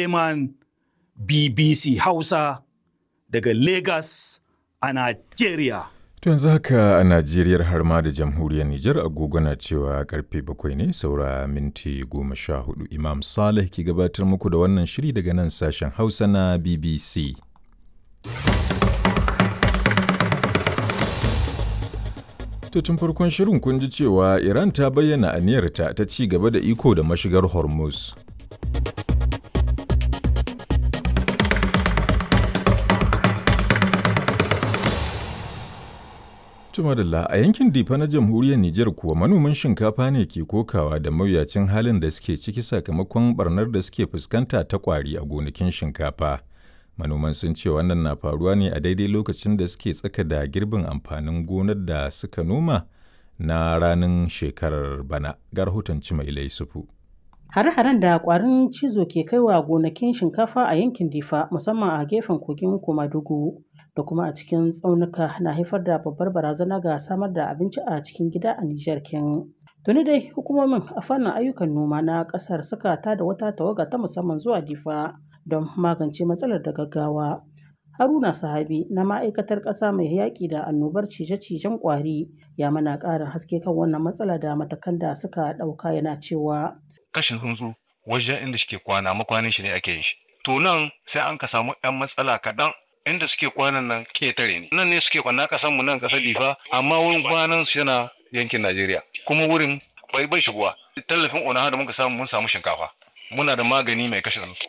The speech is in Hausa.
Suleiman, BBC Hausa daga Lagos a Najeriya. To yanzu haka a Najeriyar har ma da jamhuriyar Nijar agogo na cewa karfe 7 ne saura minti 14. Imam Saleh ke gabatar muku da wannan shiri daga nan sashen Hausa na BBC. To tun farkon shirin kun ji cewa Iran ta bayyana aniyarta ta ci gaba da iko da mashigar Hormuz. Tumadalla a yankin Difa na jamhuriyar Nijar kuwa manoman shinkafa ne ke kokawa da mawuyacin halin da suke ciki sakamakon barnar da suke fuskanta ta kwari a gonakin shinkafa. Manoman sun ce wannan na faruwa ne a daidai lokacin da suke tsaka da girbin amfanin gonar da suka noma na ranin shekarar bana. Ga rahoton Cimaila Yusufu. Hare-haren da kwarin cizo ke kaiwa gonakin shinkafa a yankin Difa, musamman a gefen kogin Komadugu da kuma a cikin tsaunuka, na haifar da babbar barazana ga samar da abinci a cikin gida a Nijar kin. Tuni dai hukumomin a fannin ayyukan noma na kasar suka tada wata tawaga ta musamman zuwa Difa don magance matsalar da gaggawa. Haruna Sahabi na ma'aikatar ƙasa mai yaƙi da annobar cije-cijen ƙwari ya mana ƙarin haske kan wannan matsala da matakan da suka ɗauka, yana cewa. Kashin tsuntsu wajen inda suke kwana, makwanin shi ne ake yin shi. To nan sai an ka samu ɗan matsala kaɗan, inda suke kwanan nan ketare ne. Nan ne suke kwana ƙasan mu nan ƙasar Difa, amma wurin kwanan su yana yankin Najeriya. Kuma wurin bai shigowa. Tallafin onaha da muka samu, mun samu shinkafa. Muna da magani mai kashe tsuntsu.